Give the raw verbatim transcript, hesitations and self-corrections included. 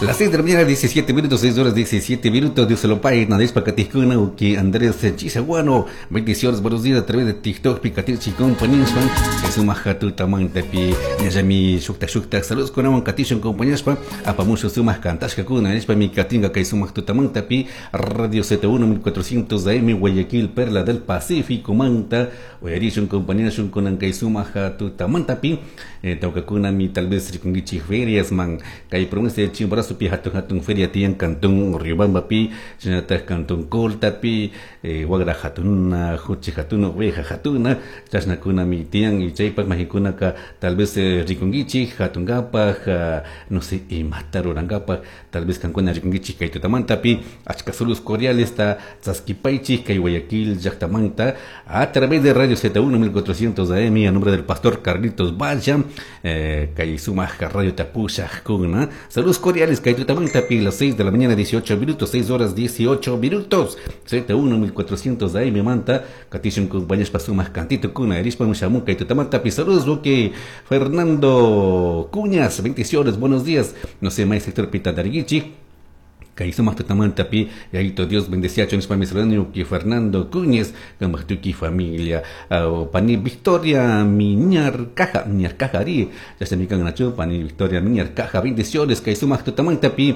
Las seis de la mañana, diecisiete minutos, seis horas diecisiete minutos. Dios se lo pague. Nadie para Catiscuna, que Andrés Chisaguano. Bendiciones, buenos días a través de TikTok, Picatichi compañías. Es un majatu tamantapi, Yami Shukta Shukta. Saludos con Aman Catishon compañías. Apamucho sumas cantashka kuna, Nispa mi Catinga, que sumas tutamantapi, Radio Z uno mil cuatrocientos A M, Guayaquil, Perla del Pacífico, Manta, Oyarishon compañías con kay sumaja tutamantapi, tawkakuna mi tal vez rikungichi ferias man, kay provincia de Chimborazo pi hatun hatun feria tiyan cantón Riobamba pi, shinatak cantón Colta pi, eh, wagra hatuna, huchi hatuna, oveja hatuna, chashnakuna mi tiyan y chaypak majikunaka tal vez eh, rikungichi hatungapaj, uh, no sé, imata rurangapaj, tal vez kankuna rikungichi kay tutamantapi, achka saludos cordiales ta chaskipaichi kay Guayaquil llaktamanta a través de Radio Z uno mil cuatrocientos A M a nombre del pastor Carlitos Valla, eh, kay sumaja Radio Tapushajkuna. Saludos cordiales kay tutamantapi, las seis de la mañana dieciocho minutos, seis horas dieciocho minutos. Z uno mil cuatrocientos A M manta, katishun kumpañashpa sumaq cantito kuna, erispa mushamun kay tutamantapi. Saludos, que Fernando Cuñas, bendiciones, buenos días. No sé, may sector pita darguichi. Kay sumaq tutamantapi, yayito Dios bendeciacho nispa mi que Fernando Cuñez, tuki familia, uh, pani Victoria Miñar Caja, Miñar Caja ari, ya se mi nacho, pani Victoria Miñar Caja, bendiciones, kay sumaq tutamantapi.